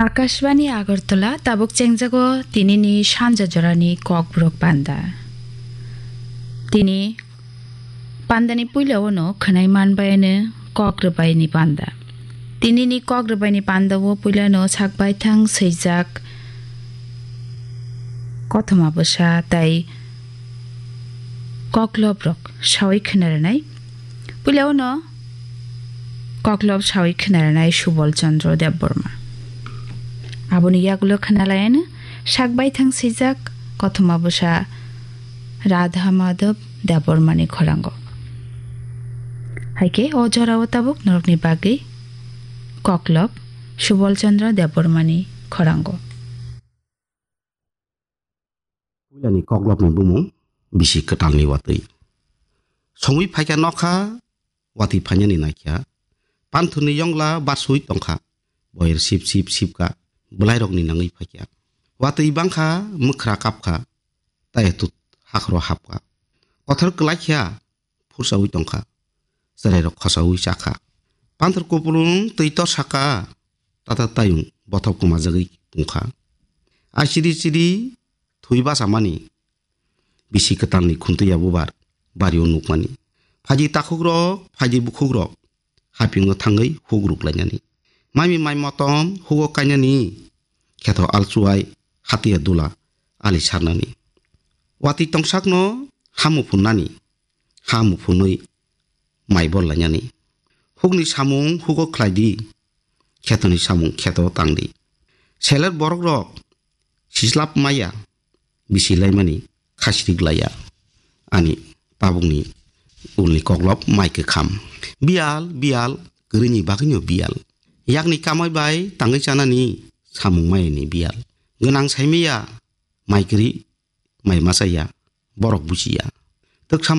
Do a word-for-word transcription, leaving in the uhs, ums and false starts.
Akashbani Agartala, tabuk chengjago tinini sanja jorani kokborok panda. Tini pandani puila ono khwnai manbayani kok rwbaini panda. Tinini kok rwbaini pandao puilano sak baithang swijak kothoma bwsa tai koklobrok sawi khwnarwnai. Puila ono koklob sawi khwnarwnai Subol Chandra Debbarma. Aboni yagulo khwnalayano sak baithang swijak kothoma bwsa Radha Madhav Debbarmani khorango. Haikhe o jorao tabuk norokni bagwi koklob Subol Chandra Debbarmani khorango. Puilani koklopni bumung bisi kwtalni watwi. Songwi phaikha nokha, watwi phainani naikha. Panthorni yongla barsui tongkha. Boyer sip sip sipkha. Bwlairokni nangwi phaikha. Watwi bangkha, mwkhra kapkha. Tayatut hakhoro hapkha. Kothor kwlaikha, phursawi tongkha. Chwrairok khosawi chakha. Panthor kupulung twi torsakha. Tata tayung bothop kwmajagwi tongkha. Ai chiri chiri thwi bachamani bisi kwtalni khuntwi ya bubar bario nukmani. Phaidi takhukrok, phaidi bukhukrok hapingo thangwi huk ruklainani. Maimi mai motom hugo kainani, kheto alchuai hatiya dula ali sarnani. Watwi tongsakno hamu phunnani, hamu phunwi mai bol lainani. Hukni samung hugo khlai di, khetoni samung kheto tang di. Seler borok rok sislap maya, bisi laimani khasirik laya. Ani tabukni ulni koklop mai kwkham. Biyal, biyal, kwrwini bagwino biyal. Yakni kamai bai tangwi chanani samung mayani biyal. Gwnang saimaya, mai kwrwi, mai machaya, borok buchiya. Twksa